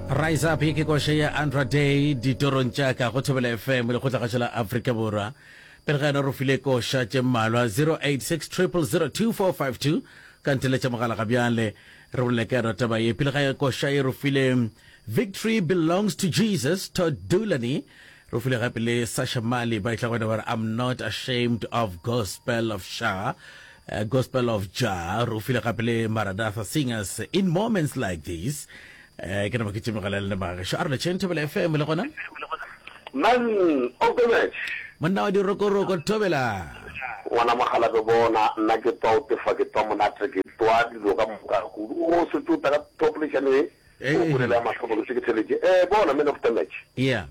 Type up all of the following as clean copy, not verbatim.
Rise Up ye ke koša ya Andra Day ditorong tša ka go Thobela FM lekgotlagašo la Afrika Borwa. Pele ga yona re file koša tše mmalwa 086 000 2452 ka nteletša mogala ga bjale re bolele ka yona taba ye. Pele ga ya koša ye re file Victory Belongs to Jesus Todd Dulaney re file gape le Sasha Mali ba etla go yena ba re I'm not ashamed of gospel of Sha uh, Gospel of Jah re file gape le Maranatha Singers in moments like these eh ke nama ke tšemegela le magešo a re letšheng Thobela FM le gona Man of the match. Monna wa dirokoroko Thobela. Ngwana mogalabe bona nna ke twa o tefa ke twa monate ke twa dilo ka moka kudu o setse o tla ka population e o polelo ya mahlo ke se ke theletše eh bona man of the match. Yeah.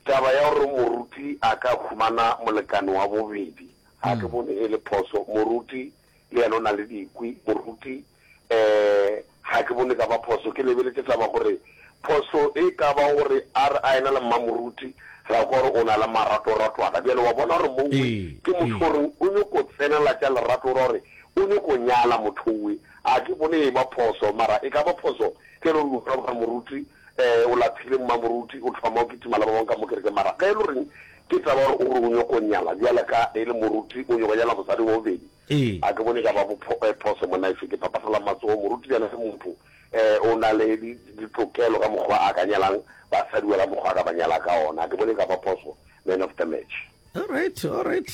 Taba ya gore moruti a ka humana molekane wa bobedi Ga ke bone e le phoso. Moruti le yena o na le dikwi. Moruti, um ga ke bone e ka ba phoso. Ke lebeletše taba gore phoso e ka ba gore a re a ena le mmamoruti, ra kwa gore o na le maratoratwana. Bjale wa bona gore mouwe ke motho o reng o nyoko tsenela tša lerato, o ra gore o nyoko nyala motho owe. Ga ke bone e ba phoso, mara e ka ba phoso ge e le gore o bona gore moruti um o laphile mmamoruti, o thoma o kitima le ba bangwe ka mo kerekeng. Mara ge e le goreng Ke taba gore o re o nyoko nyala bjale ka e le moruti, o nyoko nyala mosadi wa bobedi. Ee. A ke bone e ka ba phoso monna efe. Ke phaphahlala matsogo. Moruti bjale ke motho, o na le ditokelo ka mokgwa a ka nyalang basadi ka mokgwa a ka ba nyala ka ona. A ke bone e ka ba phoso. Man of the match. All right, all right.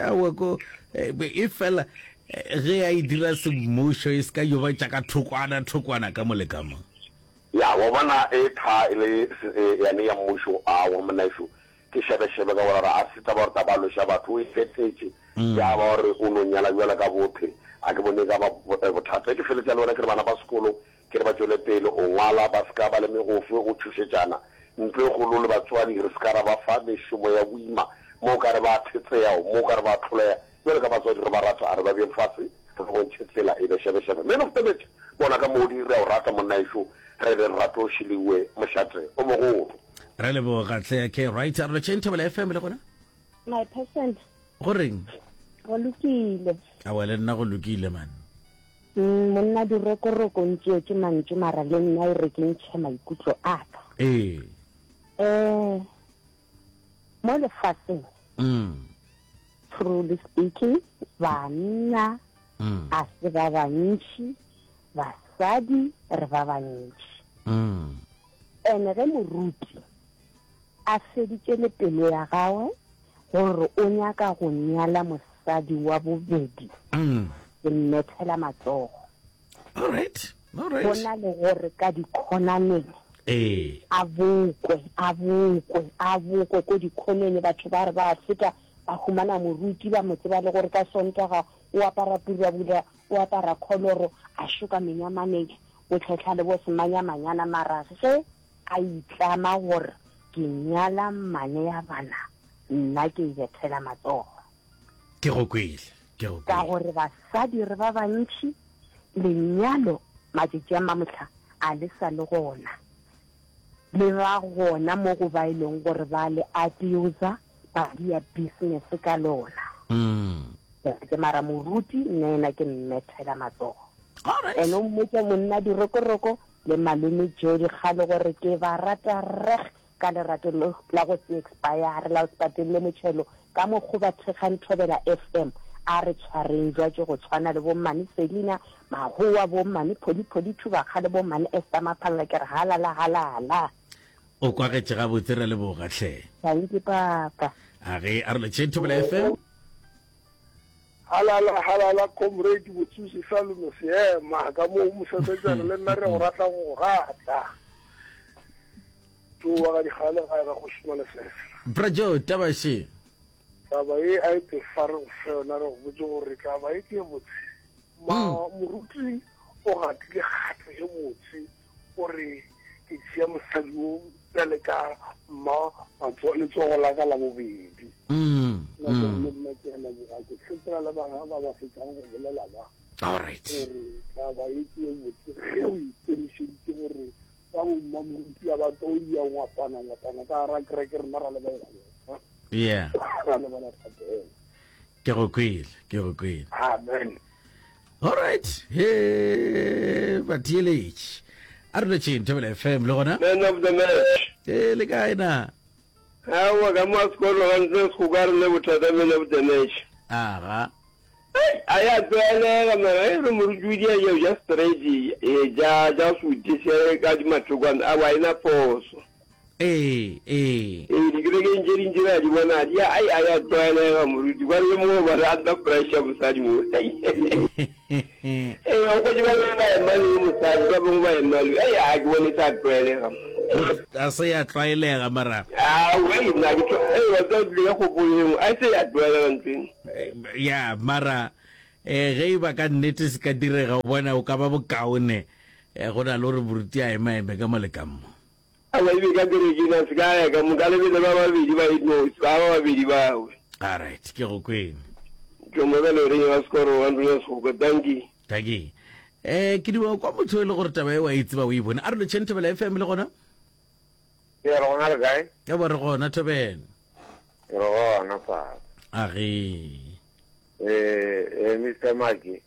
Aowa ko e fela ge a e dira semmušo e se ka yo ba tša ka thokwana thokwana ka mo le ka mo. Ya, wa bona e tha e le yane ya mmušo, aowa monna ešo. Ke šebešebe ka gore a se taba gore taba a lweša batho, o e fetletše ya ba gore o no nyala bjalo ka bothe. A ke bone e ka ba bothata. Ge ke feletša le wena ke re bana ba sekolo ke re ba tšwele pele go ngwala, ba se ka ba le megofe go tšhošetšana. Ntlo e kgolo le batswadi re se ka ra ba fa mešomo ya boima mo o ka re ba a thetseya, mo o ka re ba a hloleya. Bjalo ka batswadi re ba rata, a re ba beeng fase re ba bontšhe tsela e be šebešebe. Man of the match, bona ka moodi re a o rata monnaešo, re re rato šiliwe mošate o mogolo. Re leboga tle ke right a re lotšheng Thobela FM le gona. My person. Go reng? Go lokile. Awa le nna go lokile man. Mm, monna dirokoroko ntšeetše mantšu mara le nna e re ke ntšhe maikutlo a ka. Ee. Eh mo lefaseng. Mm. Truly speaking, banna mm. a se ba bantši, basadi re ba bantši. Mm. Ene ge moruti a feditše le pelo ya gagwe gore o nyaka go nyala mosadi wa bobedi, ke mmethela matsogo. All right, all right. Go na le gore ka dikhonaneng Ee. a bokwe, a bokwe, a bokwe ko dikhoneng, batho ba re ba feta ba humana moruti ba mo tseba le gore ka Sontaga o apara purabura, o apara kholoro, a šoka menyamaneng, o tlhohla le bo semanyamanyana, mara ge a itlama gore ke nyala mmane ya bana, nna ke e bethela matsogo. Ke go kwele, ke go Ka kwele. gore basadi re ba bantši, lenyalo matšatši a mamohla a le sa le gona. Le ba gona mo go ba e leng gore ba le abuser, ba dia business ka lona. Ke mara moruti nna ena ke mmethela matsogo. Alright. Ene o mmotse monna dirokoroko le malome Joe Dikgale gore ke ba rata reg ka lerato la go se expire la go se patelle motšhelo ka mokgo ba thekgang Thobela FM a re tshwareng jwatše go tshwana le bommane Selina Mahowa bommane Pholi Pholi Thubakga le bommane Esther Maphalla ke re halala halala. O kwagetše gabotse re leboga hle. Thank you papa. A ge a re letšeng Thobela FM. Halala halala comrade Botsusi Salome Seema ka mo mosesetsana le nna re go rata go go rata. Tšo wa ga dikgale gae ga go šoma lefefe. Bra Joe taba še. Taba ye a e tefa re go fe yona re go botse gore taba ye ke ye botse. Ma moruti o gatile kgato ye botse o re ke tšea mosadi wo bjale ka mma letsogo la ka la bobedi. Nna ke le nna ke a leboga ke sepela le bana ba ba fetšang go bolela ba. All right. Gore taba ye ke ye botse ge o ikemišeditše gore ba bo mmamoruti a ba tlo ya ngwapana ngwapana ka gara kereke rena ra lebala Yeah. ra lebala thapelo. Ke go kwele, ke go kwele. Amen. All right. He batheeletši. A re letšeng Thobela FM le gona. Man of the match. Ee, le kae na? Aowa, ka mo a sekolo ga ntse go ka re ne bothata man of the match. Aga. Ei, a ya tlwaelega mara e re moruti o dia ja ja straight e ja ja suti se ka di mathokwane a wa ena phoso. Ee, ee. Ee, dikerekeng tše dintši re a di bona di a ai a ya tlwaelega moruti kwa le mo ba re under pressure mosadi mo. Ee, o kgotse ba bangwe ba ema le mosadi ba bangwe ba ema le ai a ke bone sa tlwaelega. A se ya tlwaelega mara. Ah, wei nna ke tlo ee wa tseba tlile ka kgopolo e nngwe a se ya tlwaelega ntho eno. Ya mara eh ge e ba ka nnete se ka direga o bona o ka ba bokaone eh, go na le gore moruti a ema eme ka mo le ka mo. Aowa e be ka kerekeng a se ka ya ka mo ka lebele ba babedi ba e nosi ba ba babedi bawe. Alright, ke go kwene. Ke mo ka loreng ya sekoro wa ntlo ya Sekgokwe. Dankie. Dankie. Eh ke duma kwa motho e le gore taba e wa e tseba o e bone. A re lotšheng Thobela FM le gona? Ke re gona le kae? Ya bo re gona Thobela. Re gona papa. A ge. Eh eh Mr Maki.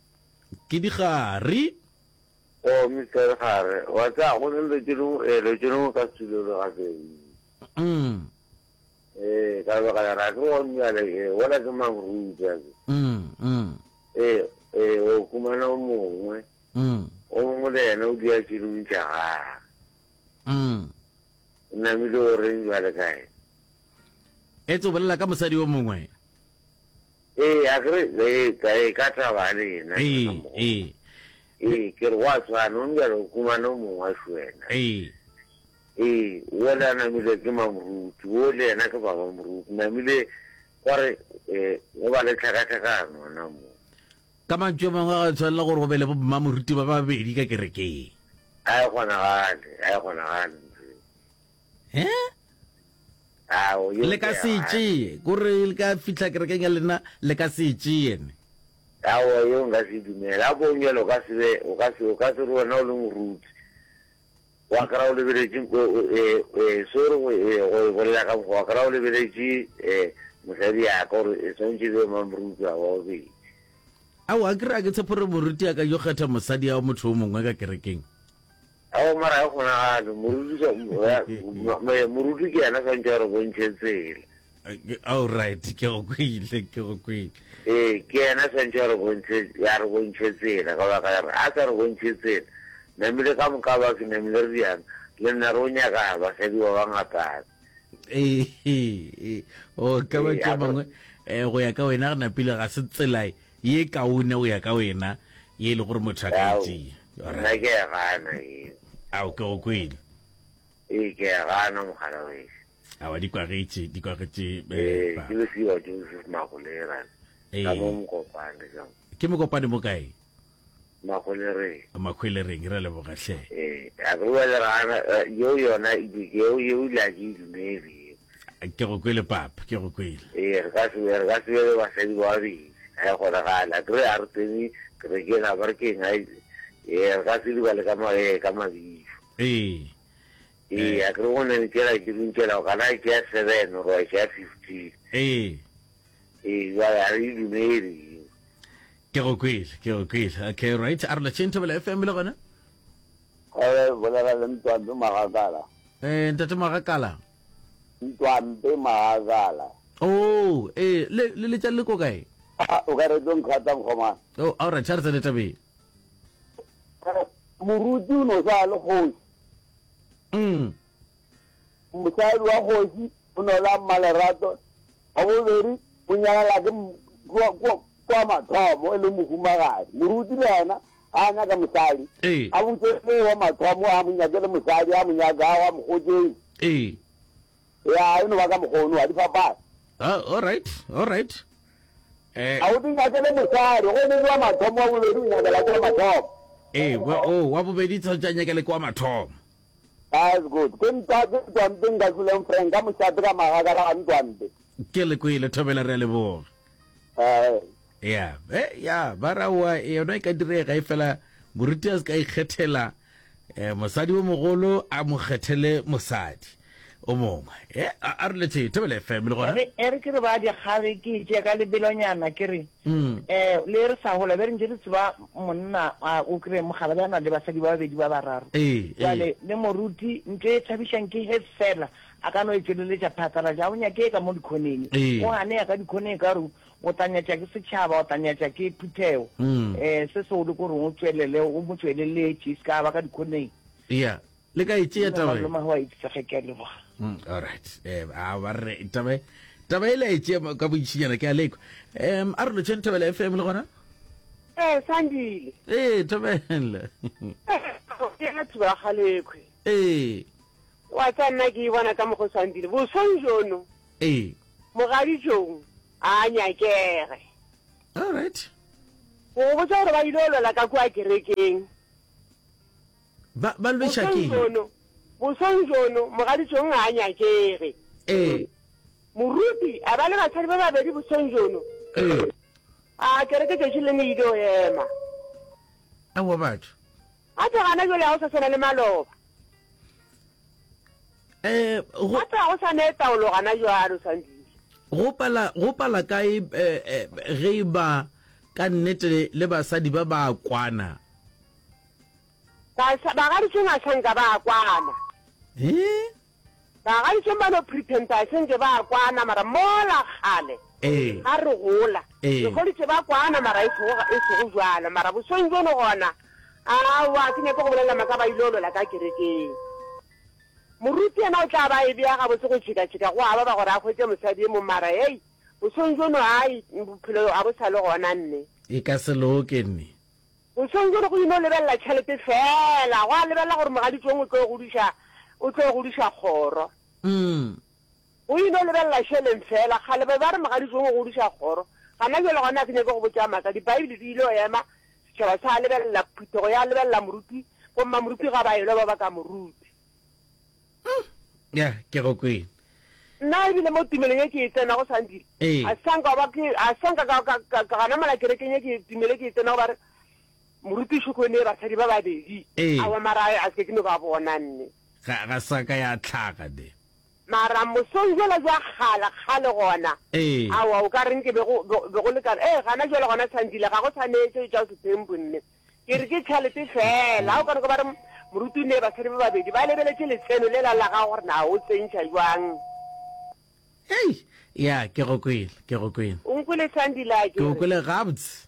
Ke digare. Oh Mister Gare, wa tsaya go ne dilo tše dingwe, eh, dilo tše dingwe ka se dule gape. Mm. Eh, ka baka la ra ke wa bjale, eh, wala ke mang ruta ke. Mm, mm. Eh, eh, o khumana o mongwe. Mm. O mongwe le yena o dia tše dingwe tša gagwe. Mm. O namile o reng bjale kae? Etse o bolela ka mosadi o mongwe. Ee, a ke re, ee, ka, ee, ka taba le yena. Ee, ee. Ee, ke re gwa tshwana, o bjale o humana o mongwe wa šwena. Ee. Ee, o le a namile ke mamoruti, o le yena ke baba moruti, namile gwa re, ee, go ba le tlhakatlhakano gona mo. Ka mantšu a mangwe ga tshwanela gore go be le bo mmamoruti ba babedi ka kerekeng. A e kgonagale, a e kgonagale ntho eo. Eh? Ao, Le ka se e tšee, kore le ka fihla kerekeng ya lena, le ka se e tšee ne. Aowa, yeo nka se e dumele. A ko bjale o ka se be, o ka se, o ka se re wena o le moruti, wa kry-a o lebeletše, e, e, sorry go, e, go e bolela ka mokgwa, wa kry-a o lebeletše e, mosadi ya ka gore e swantše e be mamoruti wa bobedi. Aowa, akere a ke tshepe gore moruti a ka yo kgetha mosadi ya motho o mongwe ka kerekeng. Ao mara ga kgonagale moruti moruti ke yena swantse a re bontšhe tsela. All right, ke go kwele, ke go kwele. Ee, ke yena swantse a re bontšhe ya re bontšhe tsela ka baka la gore a sa re bontšhe tsela namile ka moka batho namile re diana le nna re o nyaka basadi ba bangata. Ee, o ka ba tše bangwe eh, go ya ka wena re napile ga se tsela ye kaone go ya ka wena ye e le gore motho a ka e tšea. Nna ke a gana eo. Ao ke go kwele. Ee, ke a gana mogala wešo. Awa di kwagetše, di kwagetše. Ee, ke lesiwa Joseph Magolerane. Ka mo Mokopane ka mo. Ke Mokopane mo kae? Makgwelereng. Makgwelereng, re a leboga hle. Ee, a re bjale re gana yeo yona yeo yeo ile a ke e dumele yeo. Ke go kwele papa, ke go kwele. Ee, re ka se re ka se be le basadi ba babedi, ga e kgonagale. A kere a re tsene kerekeng a ba re keng a ee re ka se di bale ka ma ee ka mabitso. Ee. Ee, a kere go ne tšela ke dintšela o kana tšea seven or wa tšea fifteen. Ee. Ee, jwale a re e dumele yeo. Ke go kwele, ke go kwele. Okay, right. A re lotšheng Thobela FM le gona. Re bolela le Ntwampe Magakala. Eh, Ntate Magakala. Ntwampe Magakala. Oh, eh, le le letša le ko kae? Ah, o ka re tlo nkgata mokgomana. Oh, all right, a re tsene tabeng. Moruti o no sa le kgoši. Mm. Mosadi wa kgoši o no la mmalerato. Wa bobedi o nyalala ke kwa mathomo e le mohumagadi. Moruti le yena ga a nyaka mosadi Ee. a botse le wa mathomo a mo nyakele mosadi a mo nyakago a mo kgotšeng. Ee. Ya e no ba ka mokgono ga di fapane. Ah, all right, all right. Eh, A o di nyakele mosadi go ne wa mathomo wa bobedi o nyakela ke wa mathomo. ee, wa, oh, wa bobedi tshwanetse a nyakele ke wa mathomo. That's good. Ke ntwa ke ntwa mpe nka tloleng Frank ka mošate ka magaka ga ntwa mpe. Ke le kwele Thobela re a leboga. Eh. Ya, eh ya, ba ra wa yona e ka direga e fela moruti a se ka ikgethela eh, mosadi o mogolo a mo kgethele mosadi. o mongwe. E, a, a re letše Thobela FM le gona. E re ke re ba dikgare ke e tšea ka lebelonyana ke re um le re sa gola be re ntše re tseba monna a o kry mogala be a na le basadi ba babedi ba bararo. Ee, ee. Jwale le moruti ntho e thabišang ke he fela a ka no e tšweleletša phatlalatša ga o nyake ka mo dikhoneng. Ee. O gane ya ka dikhoneng ka gore o tla nyatša ke setšhaba o tla nyatša ke phuthego. Um se segolo ke gore o tšwelele o mo tšweleletše e se ka ba ka dikhoneng. Ya. Le ka e tšea taba e? Malome wa itse ge ke a leboga. Mm, all right. Eh, a ba re taba e- taba e le e tšea ka bontšinyana ke a lekwa. Um a re lotšheng Thobela FM le gona? Ee, Sandile. Ee, Thobela. Ke ya Thobela Galekwe. Ee. Wa tsa nna ke e bona ka mokgo Sandile. Bosong jono. Ee. Mogaditšong a nyakege. All right. Go go botša gore ba ile go lwela ka kua kerekeng. Ba, ba lweša Bosong ke eng? bjono, bosong bjono, mogaditšong ga a nyakege. Ee. Moruti a ba le basadi ba babedi bosong bjono. Ee. A kereke tšatši le lengwe e ile go ema. Aowa batho. Gape gana bjale ga go sa swana le maloba. Eh, go, Gape ga go sa ne taolo gana bjalo, Sandile. go pala, go pala kae eh, eh, ge e ba ka nnete le basadi ba ba kwana? Bagaditšong a sa nka ba kwana. Eh? Bagaditšong ba no pretenda se nke ba kwana mara mola kgale Eh. ga re gola Eh. re hweditše ba kwana mara e sego e sego jwalo mara bosong bjono gona aowa ke nyake go bolela maka ba ile lwela ka kerekeng. Moruti yena o tla ba e bea gabotse go tšhikatšhika go a baba gore a hwetše mosadi e mong mara hei bosong bjono ai bophelo a bo sa le gona nne. E ka se loke nne. Bosong bjono go ino lebelela tšhelete feela, gwa lebelela gore mogaditšong o tlo godiša, o tlo godiša kgoro. Go ino lebelela šeleng feela. Kgale ba be ba re mogaditšong o godiša kgoro. Gana bjale gona ga ke nyake go botša maaka. Dibaebele di ile go ema, setšhaba sa lebelela, phuthego ya lebelela moruti, bommamoruti ga ba elwa ba baka moruti. Ya, ke go kwele. Nna ebile mo tumelong ye ke e tsenago, Sandile, Ee. a sa nka ba ke, a sa nka ka, ka, ka, ka gana mola kerekeng ye ke tumelo e ke e tsenago ba re, Moruti Šoko o nee basadi ba babedi. Ee. Aowa, mara a se ke no ba bona nne. Ga, ga sa ka ya tlhaga ne. Mara mosong bjola bja kgale, kgale gona, Ee. aowa, o ka reng ke be go, be, be go lekana. Ee, gana bjale gona, Sandile, ga go sa nee tšeo tša setempu nne. Ke re ke tšhalete feela. Ga o ka re ba re moruti o nee basadi ba babedi, ba lebeletše letseno lela la gago gore na o tsentšha jwang. Hei, ya, ke go kwele, ke go kwele. O nkwele Sandile a Ke go ke re. kwele gabotse.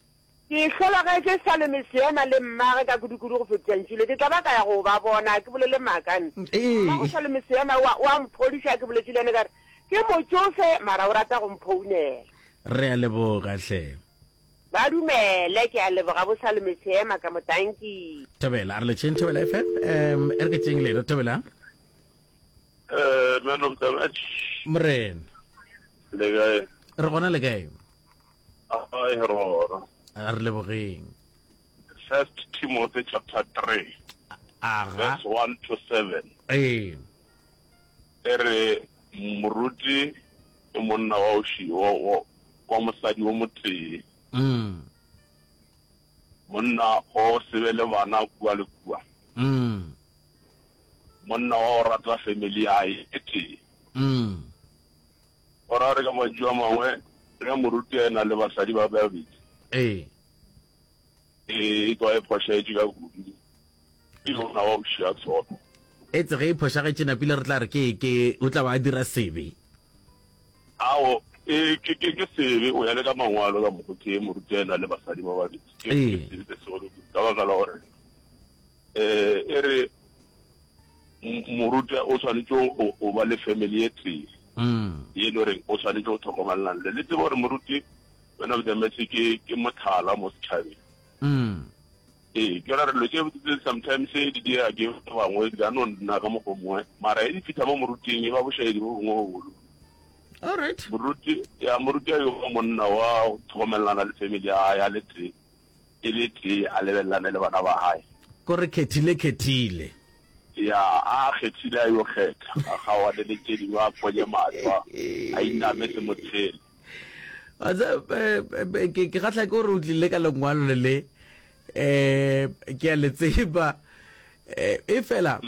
Ke hlologetše Salome Seema le mmagwe ka kudukudu go fetiša ntšhilo. Ke tla ba ka ya go ba bona, ke bolele maaka nne. Ee. Mmago Salome Seema o a, o a mphodiša, ke boletše le yena ka re, Ke motšofe, mara o rata go mphounela. Re a leboga hle. Ba dumele, ke a leboga bo Salome Seema ka mo tanki. Thobela, a re letšeng Thobela FM. Um, e re ke tšeng leno Thobela. Eh, man of the match. Morena. Le kae? Re gona le kae? Ai re gona. A re lebogeng. First Timothy chapter 3. Aga. Verse 1 to 7. Ee. E re moruti ke monna wa o ši, wa, wa, wa mosadi o motee. Mm. Monna o se be le bana kua le kua. Mm. Monna wa go rata family ya hae e tee. Mm. Go ra gore ka mantšu a mangwe, ge moruti a e-na le basadi ba babedi, Ee. e tloga e phošagetše ka kudu. Ke yona wa go šia tshono. Etse ge e phošagetše napile re tla re ke ke o tla ba a dira sebe. Ao, e ke ke ke sebe o ya le ka mangwalo ka mokgo ke moruti a ena le basadi ba babedi. Ke Ee. sebe se segolo kudu ka baka la gore eh e re moruti o swanetše go go ba le family e tee Mm. ye e le goreng o swanetše go tlhokomelelana le le tsebe gore moruti man of the match ke ke motlhala mo setšhabeng. Mm. Ee, ke ra re dilo tše tse sometimes di dira ke ba bangwe di ka no nna ka mokgwa mongwe mara e di fitlha mo moruting e ba bošaedi bo bongwe bo bogolo. All right. Moruti ya moruti a yo ba monna wa go tlhokomelelana le family ya hae a le tee e le tee a lebelelane le bana ba hae. Ko re khethile khethile. Ya a kgethile a yo kgetha a kgaoane le tše dingwe a ponye mahlo a iname se mo tshele. Wa tseba, eh, eh, ke ke kgahla ke gore o tlile ka lengwalo le le um ke a le tseba um e fela.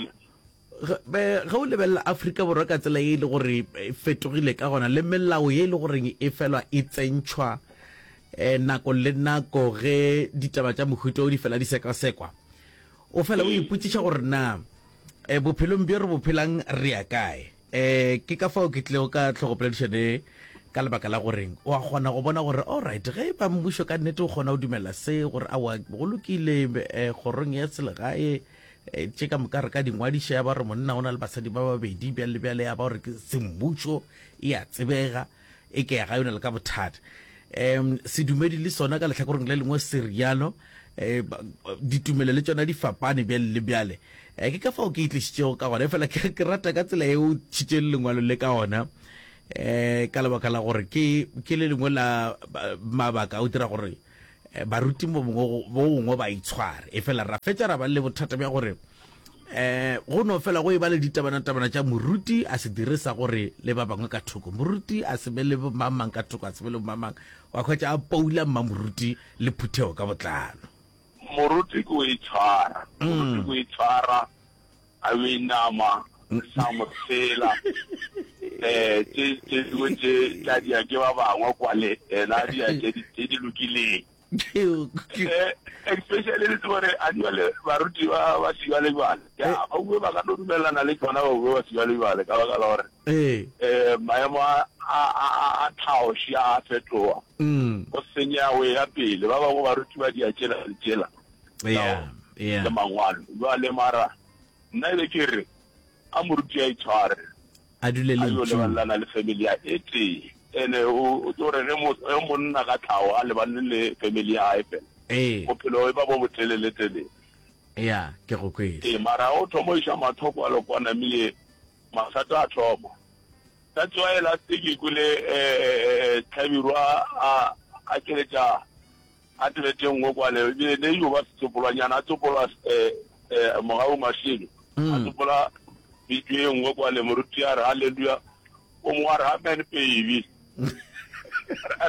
Ge o lebelela Afrika Borwa ka tsela ye e le gore e fetogile ka gona le melao ye e le goreng e felwa e tsentšhwa um nako le nako ge ditaba tša mohuta o di fela di sekasekwa, o fela o ipotšiša gore na um bophelong bjo re bo phelang re ya kae. Um ke ka fao ke tlilego ka tlhogopoledišano ye ka lebaka la goreng o a kgona go bona gore alright ge e ba mmušo ka nnete o kgona go dumela se gore aowa go lokile um kgorong ya selegae um tše ka moka re ka di ngwadiša ya ba gore monna o na le basadi ba babedi bjale le bjale ya ba gore ke semmušo e a tsebega e ke ya ga yona le ka bothata um sedumedi le sona ka lehlakoreng le lengwe se rialo um ditumelo le tšona di fapane bjale le bjale um ke ka fao ke e tlišitšego ka gona efela ke ke rata ka tsela e o tšhitšeng lengwalo le ka gona um ka lebaka la gore ke ke le lengwe la mabaka a go dira gore baruti mo bongwe bo bongwe ba itshware efela ra fetša ra ba le bothata bja gore eh go no fela go e ba le ditabana-tabana tša moruti a se dire sa gore le ba bangwe ka thoko moruti a se be le mamang ka thoko a se be le mamang wa hwetša a poula mmamoruti le phuthego ka botlalo. Moruti ke o itshwara moruti ke o itshwara a be nama sa mo sela eh tše tše dingwe tše tla dia ke ba bangwe kwale ena a dia tše di lokileng. Eh, especially le tsebo gore a jwale baruti ba ba sejwalejwale ya eh. ba bue ba ka no dumelelana le tsona ba bue ba sejwalejwale ka baka la gore um maemo a tlhaoši a fetoga mm. go senya go ya pele ba bangwe baruti ba dia tšela le tšela le mangwalo jwale mara nna e be ke re a moruti a itshware A dule A yo lebalelana le family ya e tee. Ene o o tlo re ge mo ge monna ka tlhago a lebane le family ya gae fela. Ee. Bophelo e ba bo botelele telele. Ya, ke go kwele. Ee, mara o thoma o iša mahlo kwa le kwa namile mathata a thoma. That's why last ke kwele eh Hlabirwa a a keletša A tebetše nngwe kwale, ebile ne yo ba setsopolwanyana, a tsopola eh, eh, Mogau Mashilo, a mm. tsopola video e nngwe kwale, moruti a re halleluja, o mongwe a re amen baby.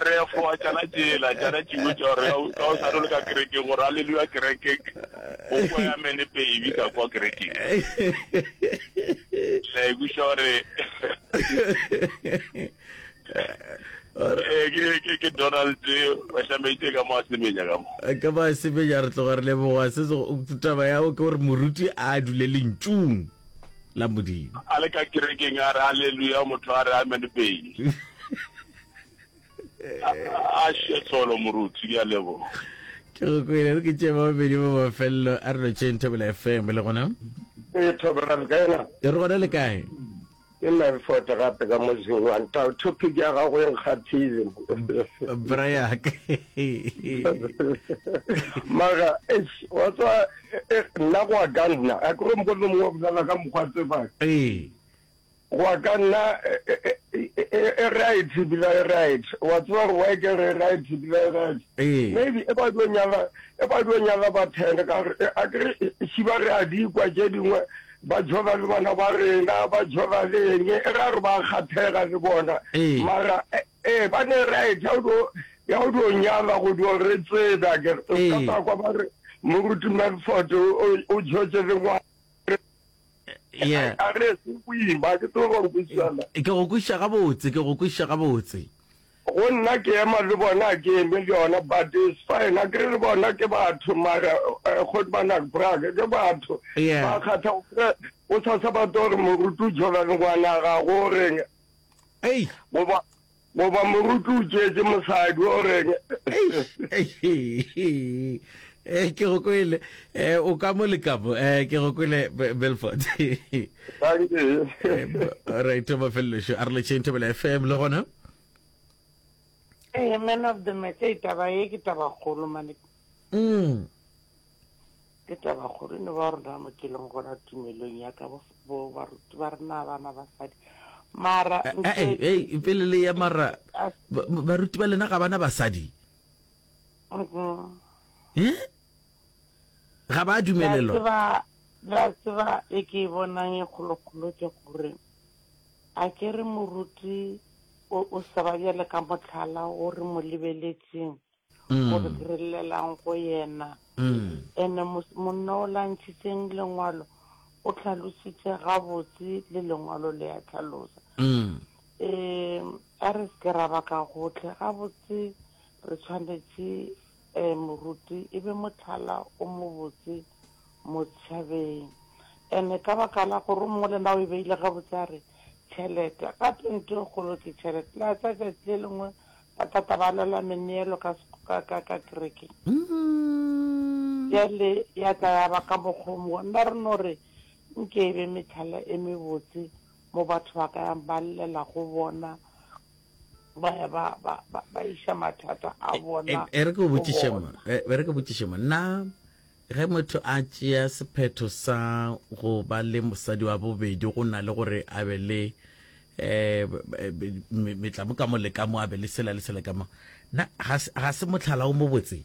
re foa tšana tšela tšana tšingwe tša gore ka o sa le ka kerekeng gore halleluja kerekeng o kwa ya amen baby ka kwa kerekeng la ikwiša gore Eh, ke ke ke Donald Bashameite ka mo a semenya ka mo. Eh, ka mo a semenya re tloga re leboga se se taba ya ke gore moruti a dule lentšung la Modimo. A le ka kerekeng a re haleluya motho a re amen pele. A she tsholo moruti ke a leboga. Ke go kwele re ke tše ba babedi ba mafelelo a re lotšheng Thobela FM le gona. Ee Thobela le kae na? Re gona le kae? Ke Melford gape ka mo Zingwane. Tau topic ya gago e nkgathile. Brayaka. Mara eish wa tswa e, e, nna go a ka nna a kore mokgwa mongwe wa bolela ka mokgwa tsebang. Ee. Go a ka nna e, e right ebile e right. Wa tseba gore why ke re right ebile e right. Ee. Maybe e ba dio nyala e ba dio nyala ba ten ka gore a kere šiba re a di kwa tše dingwe Ba jova le bana ba rena, ba jova le eng, e ra re ba kgathega le bona. Ee. Mara, ee, ba ne right ya go ya go dio nyala go dio re tsebe a kere. O ka Ee. tla kwa ba re Moruti Melford o o jotše le ngwana. Yeah. A re se boima, ke tsebe gore kwešišana. Ke go kwešiša gabotse, ke go kwešiša gabotse. Go nna ke ema le bona a ke eme le yona but it's fine akere le bona ke batho mara Godman Brag ke batho Yeah. ba kgatha o kry o sasa ba tlo re moruti o jola le ngwana gago o reng Ei. goba goba moruti o tšeetše mosadi o reng Ei. Eh, ke go kwele eh, o ka mo le ka mo eh, ke go kwele Belfort Thank you. right mafelelo a re letšeng Thobela FM le gona Ee, man of the match, ei taba ye ke taba kgolo mane. Mm. Ke taba kgolo ne ba rona mo ke leng gona tumelong ya ka bo bo baruti ba rena bana basadi. Mara Eh, eh, eh, pele le ya mara ba- baruti ba lena ga bana basadi. Mhm. Eh? Ga ba dumelelwa. La tseba, la tseba e ke e bonang e kgolokgolo ke gore a ke re moruti o, o sa ba bjale ka mohlala o re mo lebeletseng Mm. gore ke re llelang go yena Mm. ene monna o la ntšhitseng lengwalo. O hlalositše gabotse le lengwalo le a hlalosa. Um a re se ke ra ba ka gohle gabotse re tshwanetše um moruti e be mohlala o mobotse mo setšhabeng. Ene ka baka la gore o mongwe le na o e beile gabotse a re tšhelete gape ntho e kgolo ke tšhelete. La tsa tšatši le lengwe Batata ba lwela meneelo ka, ka, ka, ka kerekeng. Bjale ya tla ya ba ka mokgwa o mongwe. Nna re no re nke e be mehlala e mebotse mo batho ba ka yang ba llela go bona, ba ya ba, ba, ba, ba iša mathata a bona E, e re ke o go botšiše mo, bona. e, e re ke botšiše mo, na Ge motho a tšea sephetho sa go ba le mosadi wa bobedi go na le gore a be le um metlamo ka mo le ka mo, a be le sela le sela ka mo, na ga se mohlala o mobotse?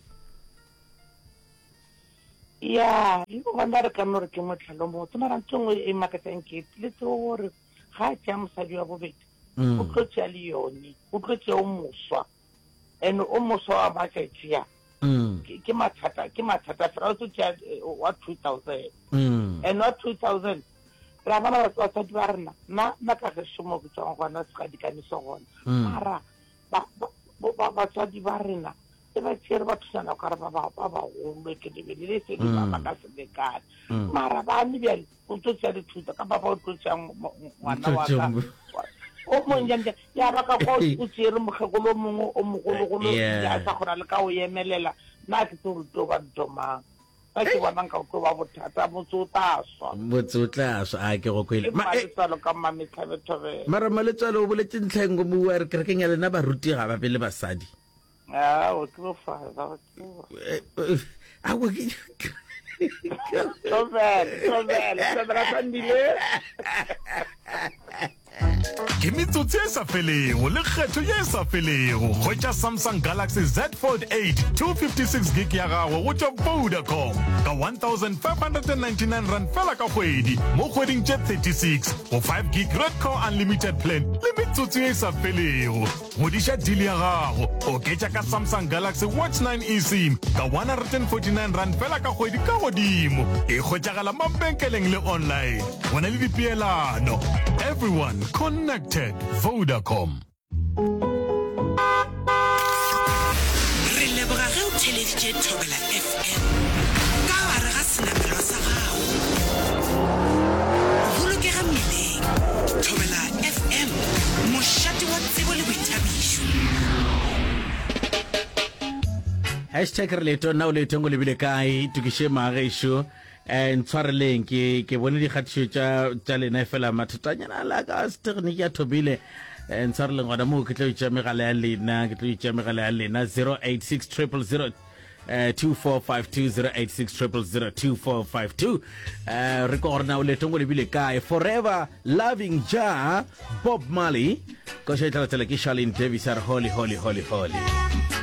Ya, le gona re ka no re ke mohlala o mobotse, mara ntho e nngwe e makatšang ke le tsebo gore ga a tšea mosadi wa bobedi o tlo tšea le yone, o tlo tšea o moswa. And o moswa wa matšatši a ke mathata, ke mathata fela o tlo tšea eh, wa 2000 mm. and wa 2000 ra bona batswadi ba rena nna nna ka gešo mo ke tswang gona segadikane se gona mm. mara batswadi ba rena e ba tšere ba thusana ka re ba bagolo ke lebelele se di ba mm. ka se lekane mara bane bjale O tlo tšea dithuto ka papa o tlo tšea ngwana wa ka o monnyane ya ba ka kwa o tšere mokgekolo o mongwe o mogologolo ya sa kgona le ka o emelela nna ke tse gore tlo ba ntho mang ka ke bona nka o tlo ba bothata motse o tla swa motse o tla swa a ke go kwele maletswalo ka mmametlhabethobela mara maletswalo o boletse ntlha e nngwe mo wa re kerekeng ya lena baruti ga ba be le basadi Ao, ke bo father, go tseba. Eh, eh, aowa, ke Thobela, thobela, thobela Sandile. Ke metsotso e sa felego le kgetho ye e sa felego. Hwetša Samsung Galaxy Z Fold 8 256 gig ya gago go tšwa Vodacom ka R1599 fela ka kgwedi mo kgweding tše 36 go 5 gig Red Core Unlimited plan le metsotso ye e sa felego. Ngwadiša deal ya gago, oketša ka Samsung Galaxy Watch 9 eSIM ka R149 fela ka kgwedi ka godimo. E hwetšagala mabenkeleng le online. Go na le dipeelano. Everyone connected. Vodacom. Re leboga ge o theeleditše Thobela FM ka gare ga senamelwa sa gago. Bolokega mmileng. Thobela FM, mošate wa tsebo le boithabišo. Hashtag re leetong, na o leetong o lebile kae? Itokiše magešo. Eh, ntshwareleng ke ke bone dikgatišo tša tša lena fela mathatanyana a la ka setegniki a thomile. Eh, ntshwareleng gona moo ke tlo itša megala ya lena, ke tlo itša megala ya lena 086 000 eh, 2452 086 000 2452. Eh, re kwa gore na o leetong o lebile kae? Forever Loving Ja, Bob Marley. Koša e tla latela ke Charlene Davis a re holy holy holy holy.